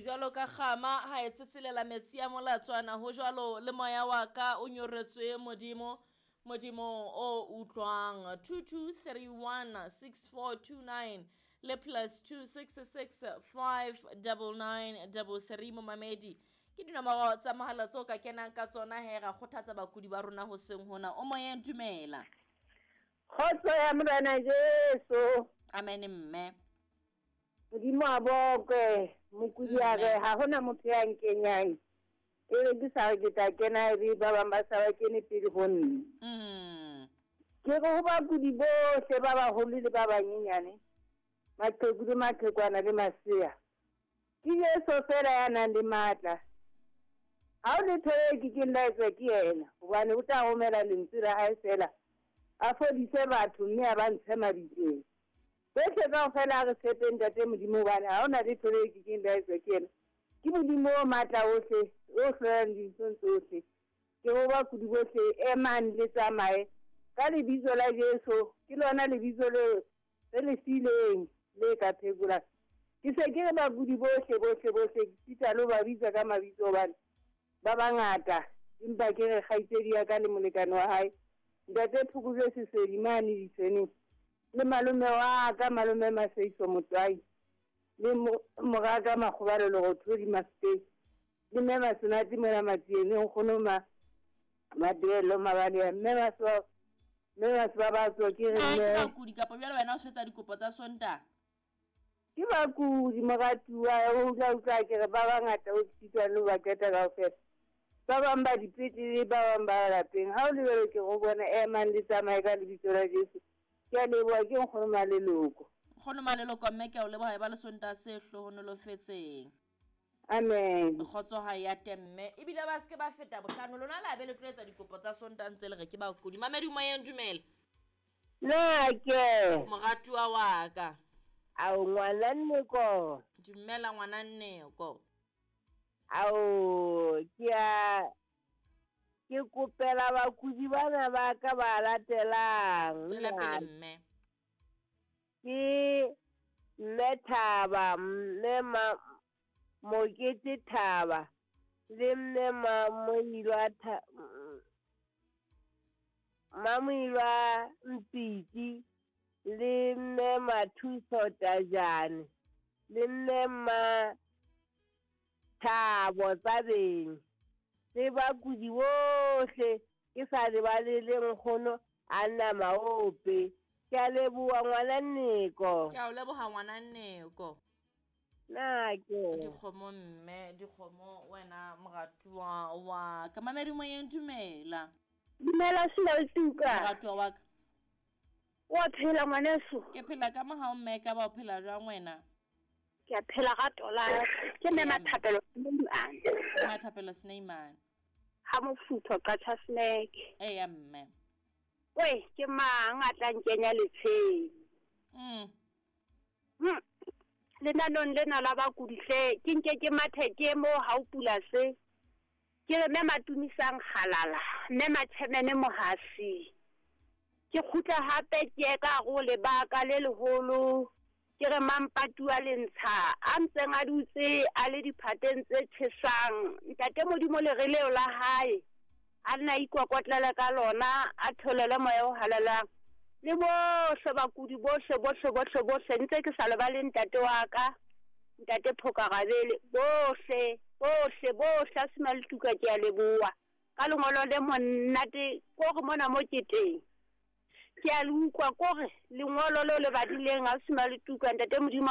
Jwalo ka kgama ha e tsetselela metsi a molatswana, ho jwalo le moya wa ka o nyoretswe Modimo, Modimo o utlwang. 22316429 le +266 599 33 momamedi. Ke dinomoro tsa mohala tseo ka kenang ka tsona he, ra kgothatsa bakudi ba rona hoseng hona. O moyeng, dumela. Kgotso ya Morena Jesu. Amen mme. Modimo a bokwe, mokudi a re ha hona motho ya nkenyang. E re ke sa re ke tla kena, e re ba bang ba sa ba kene pele ho nna. Ke re ho bakudi bohle ba baholo le ba banyenyane, maqheku le maqhekwana le masea, ke Jesu fela ya nang le matla. Ha o letho e ke keng la etswa ke yena, hobane o tla romela lentswe la hae fela, a fodise batho mme a ba ntshe mabitleng. Bohle kaofela a re tshepeng Ntate Modimo, hobane ha hona letho le ke keng la etswa ke yena. Ke Modimo o matla ohle, o hlolang dinthong tsohle. Ke ho bakudi bohle, emang le tsamaye ka lebitso la Jesu. Ke lona lebitso le re le fileng le ka phekolang. Ke se ke re bakudi bohle, bohle, bohle, ke sita le ho ba bitsa ka mabitso hobane ba bangata, empa ke re kgaitsedi ya ka le molekane wa hae, Ntate Phokojwe Sesedi mane Ditshweneng, le malome wa ka, malome Maseiso Motwai, le moraka Makgobalo Lerothodi Mafeteng, le mme Masenate mona Matsieng, nkgono Mabelo Mabalea, mme Masoba, mme Masoba ba tswa ke re Na ke mme bakudi kapa jwale wena o swetsa dikopo tsa Sontaha? Ke bakudi moratuwa, o utlwa utlwa ke re ba bangata o sitwa le ho ba qeta kaofela. Ba bang ba dipetlele, ba bang ba lapeng. Ha o lebelo ke go bona, emang le tsamaye ka lebitso la Jesu. Ke a leboha, ke nkgono Maleloko. Nkgono Maleloko mme ke a o leboha, e ba le Sontaha se hlohonolofetseng. Amen. Kgotso ha ya temme. Ebile ba se ke ba feta bohlano, lona la be le tlo etsa dikopo tsa Sontaha ntse le re ke bakudi. Mamedi moyeng, dumela. Na ke moratuwa wa ka. Ao ngwana Nneko. Dumela ngwana Nneko. Ao ke a ke kopela bakudi bana ba ka ba latelang. Tswela pele mme. Ke mme Thaba, mme Mokete Thaba, le mme Mamoilwa Mpiti, le mme Mathuso Tajane, le mme Mathabo Tsabeng, le bakudi bohle ke sa lebale le nkgono Anna Maope. Ke a leboha ngwana Nneko. Ke a o leboha ngwana Nneko. Na ke dikgomo mme, dikgomo wena moratuwa wa ka. Mamedi moyeng, dumela. Dumela Sinalutuka. Moratuwa wa ka. Wa phela ngwaneso? Ke phela ka mohau mme, ka ba o phela jwang wena? Ke a phela ga tola. Ke mme Mathapelo Sneimane. Mathapelo Sneimane. Ha mofutho Qacha Snack. Eya mme. Oi, ke mang a tla nkenya letsheng? Lenanong lena la bakudi hle, ke nke ke mathe ke mo ha o pula se. Ke re mme Matumisang Kgalala, mme Matjhemene Mohasi. Ke kgutla hape ke ye ka hare ho lebaka le leholo. Ke re Mampatuwa Lentsha a ntseng a dutse a le diphateng tse tjhesang. Ntate Modimo lere leo la hae a nna ikokotlele ka lona, a tholele moya o halalelang. Le bohle bakudi bohle, bohle, bohle, bohle, ntse ke sa lebale ntate wa ka, ntate Phokarabele, bohle, bohle, bohle, a sena letuka ke a leboha. Ka lengolo le monate, kore mona mo ke teng. Ke a le utlwa, kore lengolo leo le badileng, ha sena letuka, ntate Modimo